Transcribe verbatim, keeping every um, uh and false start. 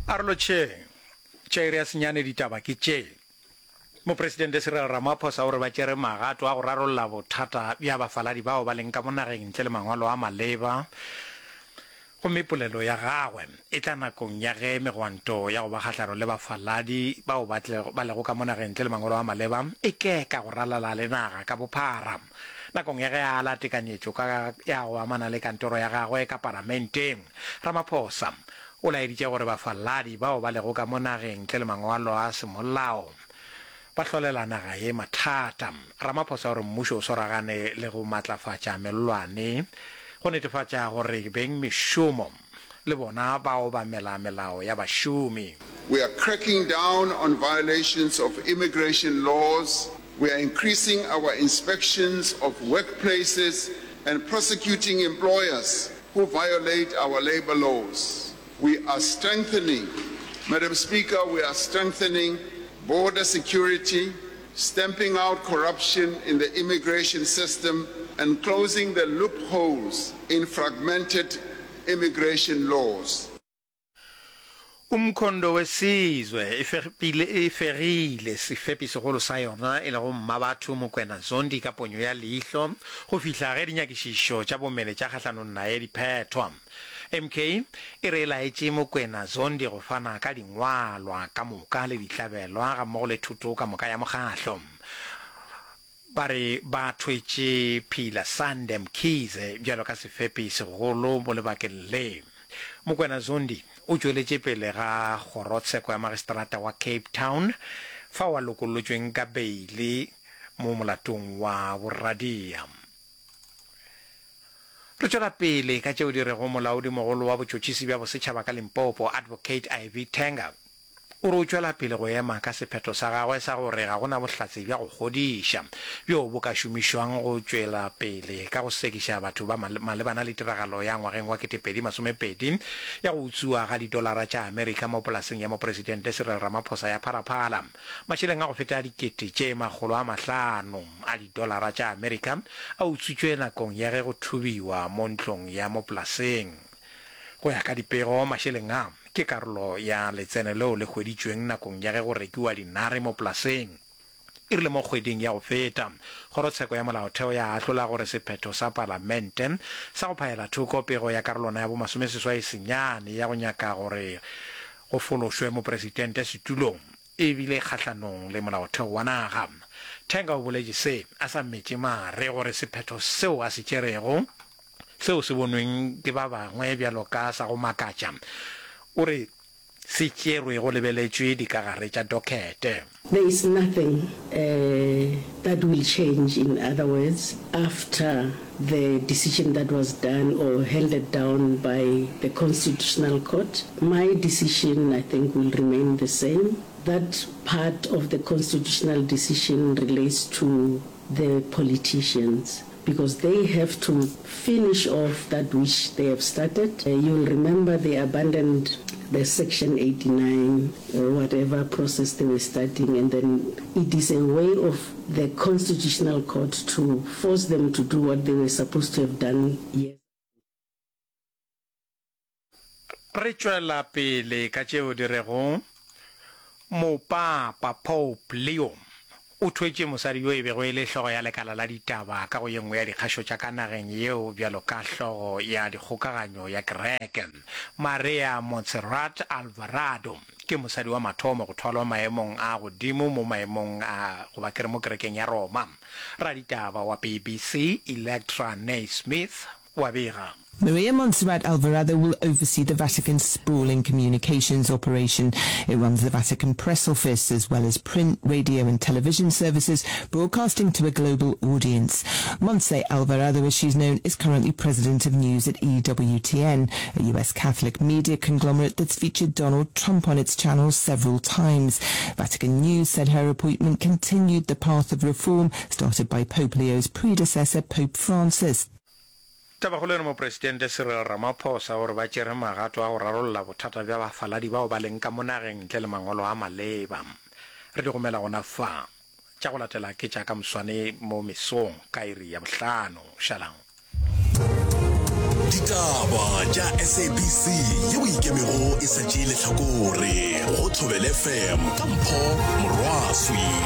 A re lotšheng. Tša iri ya senyane ditaba ke tše. Mopresidente Cyril Ramaphosa o re ba tšere magato a go rarolla bothata bja bafaladi bao ba leng ka mo nageng ntle le mangwalo a maleba. Gomme polelo ya gagwe e tla nakong ya ge megwanto ya go ba kgahlanong le bafaladi bao ba tlego ba lego ka mo nageng ntle le mangwalo a maleba e keka go ralala le naga ka bophara. Nakong ya ge a ala tekanyetšo ka ya go amana le kantoro ya gagwe ka Palamenteng, Ramaphosa o laeditše gore bafaladi bao ba lego ka mo nageng ntle le mangwalo a semolao ba hlolela naga ye mathata. Ramaphosa o re mmušo o swaragane le go matlafatša mellwane go netefatša gore bengmešomo le bona ba obamela melao ya bašomi. We are cracking down on violations of immigration laws, we are increasing our inspections of workplaces and prosecuting employers who violate our labour laws. We are strengthening, Madam Speaker, we are strengthening border security, stamping out corruption in the immigration system and closing the loopholes in fragmented immigration laws. Umkhonto weSizwe e fegile e fegile sefepi segolo sa yona e lego Mmabatho Mokwena Zondi ka ponyo ya leihlo go fihla ge dinyakišišo tša bomenetša kgahlanong naye di phethwa. M K e re e laetše Mokwena Zondi go fana ka dingwalwa ka moka le ditlabelwa gammogo le thoto ka moka ya mokgahlo. Ba re ba thwetše Philasande Mkhize bjalo ka sefepi segolo mo lebakeng le. Mokwena Zondi o tšweletše pele ga kgorotsheko ya magistrata wa Cape Town fao a lokollotšweng ka beile mo molatong wa boradia. Re tšwela pele ka tšeo di rego molaodimogolo wa botšhotšhisi bja bosetšhaba ka Limpopo, Advocate Ivy Thenga, o re o tšwela pele go ema ka sephetho sa gagwe sa gore ga go na bohlatse bja go kgodiša bjo bo ka šomišwang go tšwela pele ka go sekiša batho ba malebana le tiragalo ya ngwageng wa ketepedi masomepedi ya go utswiwa ga didolara tša Amerika mo polaseng ya Mopresidente Cyril Ramaphosa ya Phalaphala. Mašeleng a go feta dikete tše makgolo a mahlano a didolara tša Amerika a utswitšwe nakong ya ge go thubiwa mo ntlong ya mo polaseng. Go ya ka dipego, mašeleng a ke karolo ya letseno leo le hweditšweng nakong ya ge go rekiwa dinare mo polaseng. E rile mo kgweding ya go feta, Kgorotsheko ya Molaotheo ya ahlola gore sephetho sa Palamente sa go phaela thoko pego ya karolwana ya bomasomeseswai senyane ya go nyaka gore go fološwe mopresidente setulong e bile kgahlanong le molaotheo wa naga. Thenga o boletše se a sa metše mare gore sephetho seo a se tšerego, seo se bonweng ke ba bangwe bjalo ka sa go makatša, o re se tšerwe go lebeletšwe dikagare tša dokete. There is nothing that will change, in other words, after the decision that was done or handed down by the Constitutional Court. My decision, I think, will remain the same. That part of the constitutional decision relates to the politicians because they have to finish off that which they have started. You'll remember they abandoned the Section eighty-nine or whatever process they were starting, and then it is a way of the Constitutional Court to force them to do what they were supposed to have done years Re tšwela pele ka tšeo di rego, Mopapa Pope Leo o thwetše mosadi yo e bego e le hlogo ya lekala la ditaba ka go ye nngwe ya dikgašo tša ka nageng yeo bjalo ka hlogo ya dikgokaganyo ya kereke. Maria Montserrat Alvarado ke mosadi wa mathomo go thwalwa maemong a godimo mo maemong a goba ke re mo kerekeng ya Roma. Raditaba wa B B C Electra Naismith o a bega. Maria Montserrat Alvarado will oversee the Vatican's sprawling communications operation. It runs the Vatican press office as well as print, radio and television services, broadcasting to a global audience. Montse Alvarado, as she's known, is currently president of news at E W T N, a U S Catholic media conglomerate that's featured Donald Trump on its channels several times. Vatican News said her appointment continued the path of reform started by Pope Leo's predecessor, Pope Francis. Tabakgolo e re Mopresidente Cyril Ramaphosa o re ba tšere magato a go rarolla bothata bja bafaladi bao ba leng ka mo nageng ntle le mangwalo a maleba. Re di gomela gona fa. Tša go latela ke tša ka moswane mo mesong ka iri ya bohlano. Šalang. Ditaba tša S A B C yeo e ikemego e sa tšee lehlakore go Thobela F M ka Mpho Morwaswi.